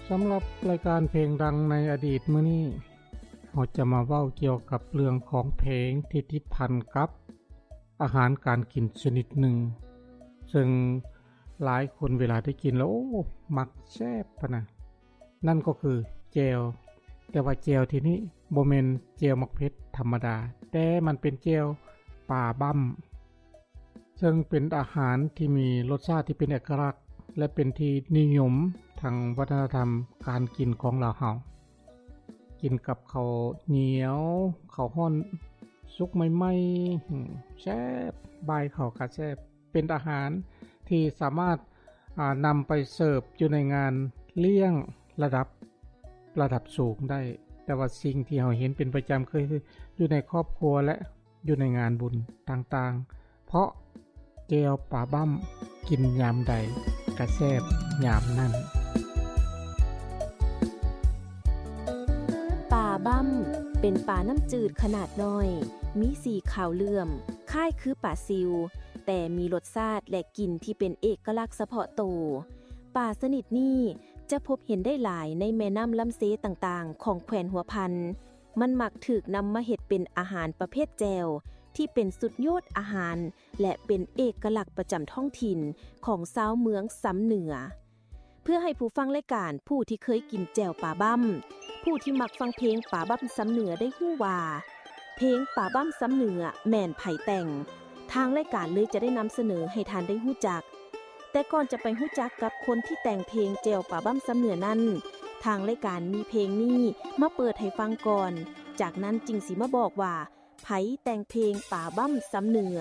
ສຳລັບລາຍການເພງດັງໃນອະດີດມື້ນີ້ ເຮົາຈະມາເວົ້າກ່ຽວກັບເລື່ອງຂອງເພງທີ່ຕິດພັນກັບອາຫານການກິນຊະນິດໜຶ່ງ ເຊິ່ງຫຼາຍຄົນເວລາໄດ້ກິນແລ້ວ ໂອ້ ມັກແຊບພະນະ ນັ້ນກໍຄືແຈ່ວ. ແຕ່ວ່າແຈ່ວທີ່ນີ້ບໍ່ແມ່ນແຈ່ວໝາກເຜັດທຳມະດາ, ແຕ່ມັນເປັນແຈ່ວປາບ້ຳ ເຊິ່ງເປັນອາຫານທີ່ມີລົດຊາດທີ່ເປັນເອກະລັກ ແລະ ເປັນທີ່ນິຍົມທາງວັດທະນະທຳການກິນຂອງລາວເຮົາ. ກິນກັບເຂົ້າໜຽວ, ເຂົ້າຮ້ອນສຸກໃໝ່ໆ ແຊບ, ບາຍເຂົ້າກະແຊບ. ເປັນອາຫານທີ່ສາມາດ ອ່າ ນຳໄປເສີບຢູ່ໃນງານລ້ຽງລະດັບ ລະດັບສູງໄດ້. ແຕ່ວ່າສິ່ງທີ່ເຮົາເຫັນເປັນປະຈຳ ຄືຢູ່ໃນຄອບຄົວ ແລະ ຢູ່ໃນງານບຸນຕ່າງໆ ເພາະແຈ່ວປາບ້ຳ ກິນຍາມໃດກະແຊບຍາມນັ້ນ. ປາບ້ຳ ເປັນປານ້ຳຈືດຂະໜາດນ້ອຍ, ມີສີຂາວເຫຼື້ອມ, ຄ້າຍຄືປາຊິວ, ແຕ່ມີລົດຊາດ ແລະ ກິ່ນທີ່ເປັນເອກະລັກສະເພາະໂຕ. ປາຊະນິດນີ້ຈະພົບເຫັນໄດ້ຫຼາຍໃນແມ່ນ້ຳລຳເຊຕ່າງໆ ຂອງແຂວນຫົວພັນ. ມັນມັກຖືກນຳມາເຮັດເປັນອາຫານປະເພດແຈ່ວ ທີ່ເປັນສຸດຍອດອາຫານ ແລະ ເປັນເອກະລັກປະຈຳທ້ອງຖິ່ນຂອງຊາວເມືອງຊຳເໜືອ. ເພື່ອໃຫ້ຜູ້ຟັງລາຍການຜູ້ທີ່ເຄີຍກິນແຈ່ວປາບ້ຳ, ຜູ້ທີ່ມັກຟັງເພງປາບ້ຳຊຳເໜືອໄດ້ຮູ້ວ່າ ເພງປາບ້ຳຊຳເໜືອແມ່ນໃຜແຕ່ງ, ທາງລາຍການເລີຍຈະໄດ້ນຳສະເໜີໃຫ້ທ່ານໄດ້ຮູ້ຈັກ. ແຕ່ກ່ອນຈະໄປຮູ້ຈັກກັບຄົນທີ່ແຕ່ງເພງແຈ່ວປາບ້ຳຊຳເໜືອນັ້ນ, ທາງລາຍການມີເພງນີ້ມາເປີດໃຫ້ຟັງກ່ອນ, ຈາກນັ້ນຈຶ່ງຊິມາບອກວ່າ ໃຜແຕ່ງເພງປາບ້ຳຊຳເໜືອ.